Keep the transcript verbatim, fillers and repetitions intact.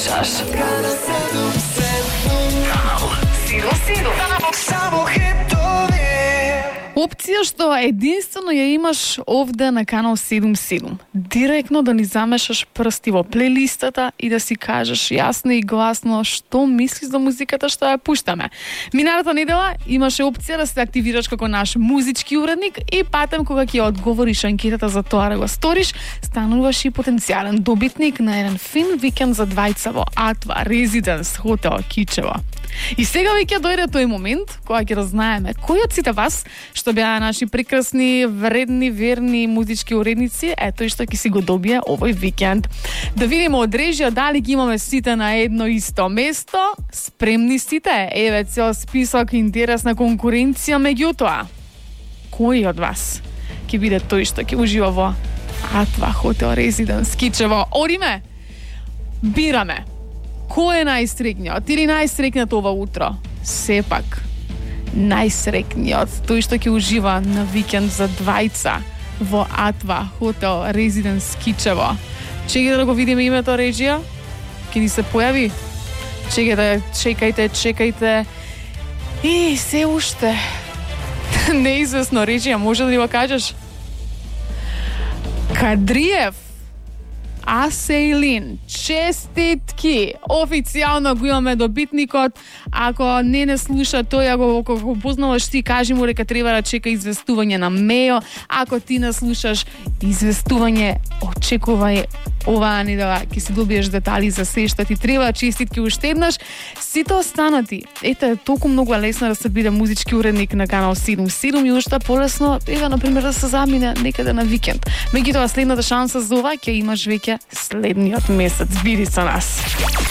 слушаш Канал седум седум. Канал седум седум. Само хитови. Опција што единствено ја имаш овде на Канал седум седум. Директно да ни замешаш прсти во плейлистата и да си кажеш јасно и гласно што мислиш за музиката што ја пуштаме. Миналата недела имаше опција да се активираш како наш музички уредник и патем кога ќе одговориш анкетата за тоа да го сториш, стануваш и потенцијален добитник на еден фин викенд за двајца во Атва Резиденс хотел Кичево. И сега веќе дојде тој момент кога ќе разнаеме кој од сите вас што беа наши прекрасни, вредни, верни музички уредници, е тој што ќе си го добие овој викенд. Да видиме од режија дали ги имаме сите на едно исто место. Спремни сите? Еве цел список, интересна конкуренција меѓутоа. Кој од вас ќе биде тој што ќе ужива во Атва хотел Резиденс Кичево? Одиме. Бираме. Кој е најсрекниот или најсрекниот ова утро? Сепак, најсрекниот, тој што ќе ужива на викенд за двајца во Атва хотел Резиденс Кичево. Чекајте да го видиме името режија. Ќе ни се појави. Чекајте, чекајте, чекајте. И се уште неизвестно режија, може да ни го кажеш? Кадриев. Асейлин, честитки! Официјално го имаме добитникот. Ако не не слуша тој, ако го познаваш ти, кажи му дека треба да чека известување на мејо. Ако ти не слушаш известување, очекувај оваа недела, ќе си добиеш детали за се што ти треба. Честитки уште еднаш. Сите останати, ете, толку многу лесно да се биде музички уредник на Канал седум седум и уште полесно, еве, например, да се замине некаде на викенд. Меѓутоа, следната шанса за ова ќе имаш веќе следниот месец. Биди со нас.